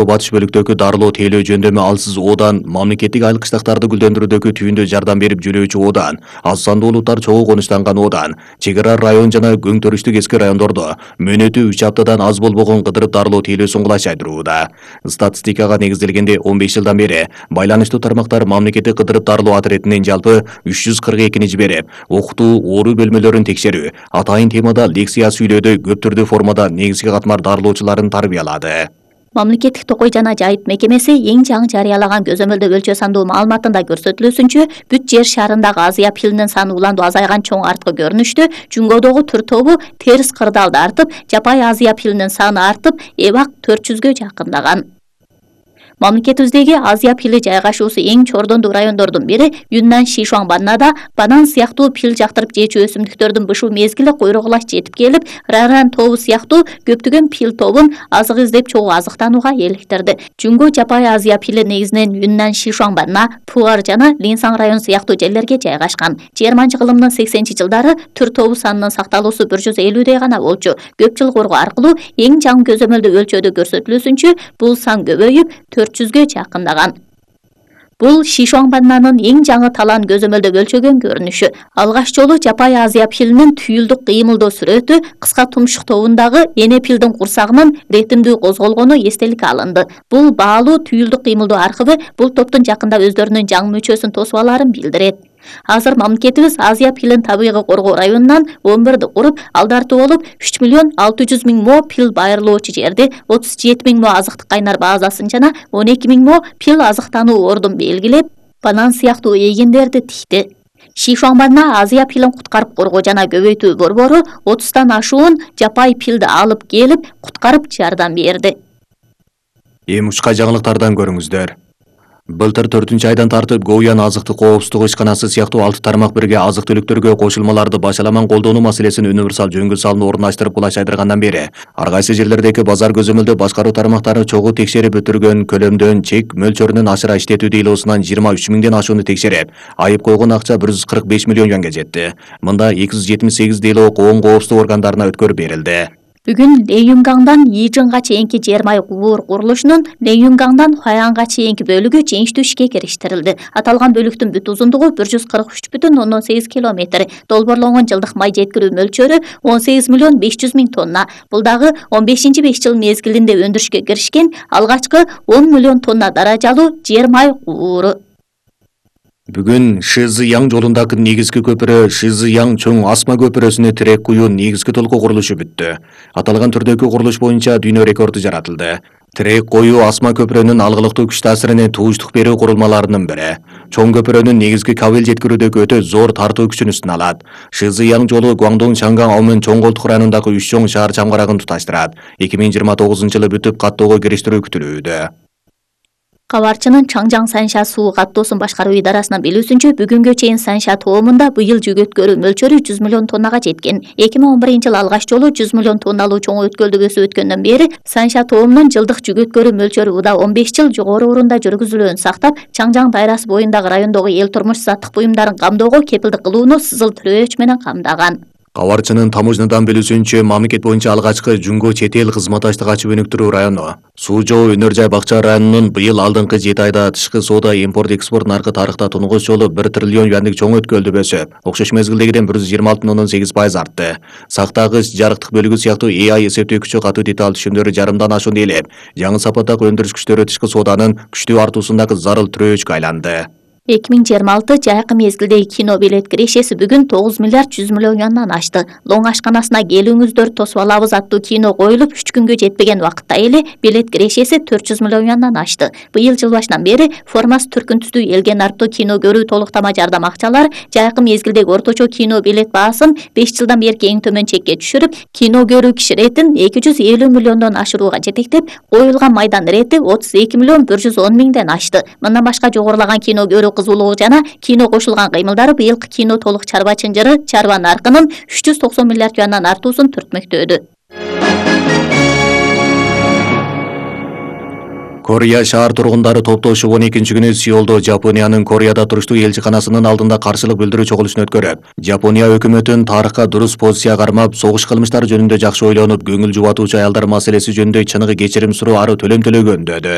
Батыш бөлүктөгү дарылоо тейлөө жөндөмү алсыз оодан, мамлекеттик айлык кыштактарды гүлдөндүрүүдөгү түйүндө жардам берип жүрүүчү оодан, аз сандуу улуттар чогуу конуштанган оодан, чек ара район жана көң төрүштүк эски райондордо мөөнөтү 3 аптадан аз болбогон кыдырып дарылоо тейлөөсүн кулаш айдырууда. Статистикага негизделгенде 15 жылдан бери байланыштуу тармактар мамлекеттик кыдырып дарылоо отрядынын жалпы 342 жиберип, окутуу, оору бөлмөлөрүн текшерүү, атайын темада лекция сүйлөөдө көп түрдүү формада негизги катмар дарылоочуларын тарбиялады. Мамлекеттик токой жана жайыт мекемеси эң жаңы жарыялаган көзөмөлдө өлчө сандуу маалыматында көрсөтүлүүсүнчө, бүт жер шарындагы азыя пилинин саны уланду азайган чоң арткы көрүнүштө Жунгодогу түр тобу терс кырдаалда артып, жапай азыя пилинин саны артып, эбак 400гө жакындаган. Мамлекетибиздеги азыя пили жайгашуусу эң чордондуу райондордун бири Юннан Шишуаңбаннада банан сыяктуу пил жактырып жечү өсүмдүктөрдүн бышуу мезгили койрогулаш жетип келип, Раран тобу сыяктуу көптөгөн пил тобун азык издеп чогуу азыктанууга электирди. Жунго жапай азыя пили негизинен Юннан Шишуаңбанна, Пуар жана Линсаң район сыяктуу жерлерге жайгашкан. Жерманчы кылымдын 80-жылдары түр тобу санынын сакталуусу 150дей гана болчу. Көп жыл коргоо аркылуу эң жаңы көзөмөлдө өлчөдө көрсөтүлүүсүнчө, бул сан көбөйүп 400гө жакындаган. Бул Шишуаңбаннанын эң жаңы талан көзөмөлдө өлчөгөн көрүнүшү. Алгаш жолу жапай азыя пилинин түйүлдүк кыймылдоо сүрөтү кыска тумшук тобундагы эне пилдин курсагынын ретимдүү козголгону эстеликке алынды. Бул баалуу түйүлдүк кыймылдоо аркыбы бул топтун жакында өздөрүнүн жаңы мүчөсүн тосуп алаарын билдирет. Азыр мамлекетибиз азыя пилин табигый коргоо районунан 11 куруп, алдартуу болуп 3.600.000 мо пил байырлоочу жерди, 37.000 мо азыктык кайнар базасын жана 12.000 мо пил азыктануу ордун белгилеп, банан сыяктуу эгиндерди тикти. Шишуаңбанна азыя пилин куткарып коргоо жана көбөйтүү борбору 30тан ашуун жапай пилди алып келип, куткарып жардам берди. Эми учка жаңылыктардан көрүңүздөр. Былтыр 4-айдан тартып Гоуян азыктык коопсуздук ишканасы сыяктуу 6 тармак бирге азык-түлүктөргө кошулмаларды башаламан колдонуу маселесин универсал жөнгө салууну орундаштырып кулаш айдыргандан бери ар кайсы жерлердеги базар көзөмөлдө башкаруу тармактары чогуу текшерип өтүргөн көлөмдөн, чек мөлчөрүнөн ашыра иштетүү дейлоосунан 23.000ден ашууну текшерип, айып койгон акча 145 миллион юанга жетти. Мында 278 дейлоо коом коопсуздук органдарына өткөрүп берилди. Бүгүн Лэйюнгаңдан Йижинга чейинки жер май кубур курулушунун Лэйюнгаңдан Хаянга чейинки бөлүгү жеңиштүү ишке кириштирилди. Аталган бөлүктүн бүт узундугу 143,8 километр. Долборлонгон жылдык май жеткирүү мөлчөрү 18.500.000 тонна. Бул дагы 15-5 жыл мезгилинде өндүрүшкө киришкен алгачкы 10 миллион тонна даражалуу жер май кубуру. Бүгүн Шизыяң жолундагы негизги көпүрө Шизыяң чоң асма көпүрөсүнө тирек куюу негизги толкуу курулушу бүттү. Аталган түрдөгү курулуш боюнча дүйнө рекорду жаратылды. Тирек коюу асма көпүрөнүн алгылыктуу күч таасиринен тууштук берүү курулмаларынын бири. Чоң көпүрөнүн негизги кабел жеткирүүдөгү өтө зор тартуу күчүн үстүнө алат. Шизыяң жолу Гуаңдун Чаңгаң Аумын чоң колтук районундагы 3 чоң шаар чамгарагын туташтырат. 2029-жылы бүтүп каттоого кириштирүү күтүлүүдө. Кабарчынын Чаңжаң Санша суу каттоосун башкаруу идарасынын билүүсүнчө, бүгүнгө чейин Санша тоомунда быйыл жүк өткөрүү мөлчөрү 100 миллион тоннага жеткен. 2011-жылы алгач жолу 100 миллион тонналуу чоң өткөлдүк өсүп өткөндөн бери Санша тоомунун жылдык жүк өткөрүү мөлчөрү уда 15 жыл жогору орунда жүргүзүлөөн сактап, Чаңжаң дайрасы боюндагы райондогу эл турмуш заттык буюмдарын камдоого кепилдик кылууну Сызыл Тирөөч менен камдаган. Кабарчынын таможнядан билүүсүнчө, мамлекет боюнча алгачкы Жунго чет эл кызматташтык ачып өнүктүрүү району. Суу Жоо Өнөр жай бакча районунун быйыл алдыңкы 7 айда тышкы соода импорт-экспорт наркы тарыхта тунугус жолу 1 триллион юандык чоң өткөлдү өсүп, окшош мезгилдегиден 126,8% артты. Сактагыч, жарыктык бөлүгү сыяктуу AI эсептөө күчү катуу деталь түшүмдөрү жарымдан ашуун ээлеп, жаңы сапаттагы өндүрүш күчтөрү тышкы сооданын күчтүү артуусундагы зарыл тирөөчкө айланды. 2026 жайкы мезгилдеги кино билет кирешеси бүгүн 9 миллиард 100 миллион юандан ашты. Лоң ашканасына келүүңүздөр тосуп алабыз аттуу кино коюлуп 3 күнгө жетпеген убакытта эле билет кирешеси 400 миллион юандан ашты. Быйыл жыл башынан бери формасы түркүн түстүү элге нарптуу кино көрүү толуктама жардам акчалар жайкы мезгилдеги орточо кино билет баасын 5 жылдан берки эң төмөн чекке түшүрүп, кино көрүү киши ретин 250 миллиондон ашырууга жетектеп, коюлган майдан рети 32 миллион 110 миңден ашты. Мындан башка жогорулаган кино көрүү кызуулугу жана кино кошулган кыймылдары быйылкы кино толук чарба чынжыры чарба наркынын 390 миллиард юандан артуусун түртмөктөөдү. Корея шаар тургундары топтошуп 12-күнү Сеулдо Жапониянын Кореяда туруштуу элчиканасынын алдында каршылык билдирүү чогулушун өткөрүп, Жапония өкмөтүн тарыхка дурус позиция кармап, согуш кылмыштары жөнүндө жакшы ойлонуп, көңүл жубатуучу аялдар маселеси жөнүндө чыныгы кечирим суроо ары төлөм төлөгөн деді.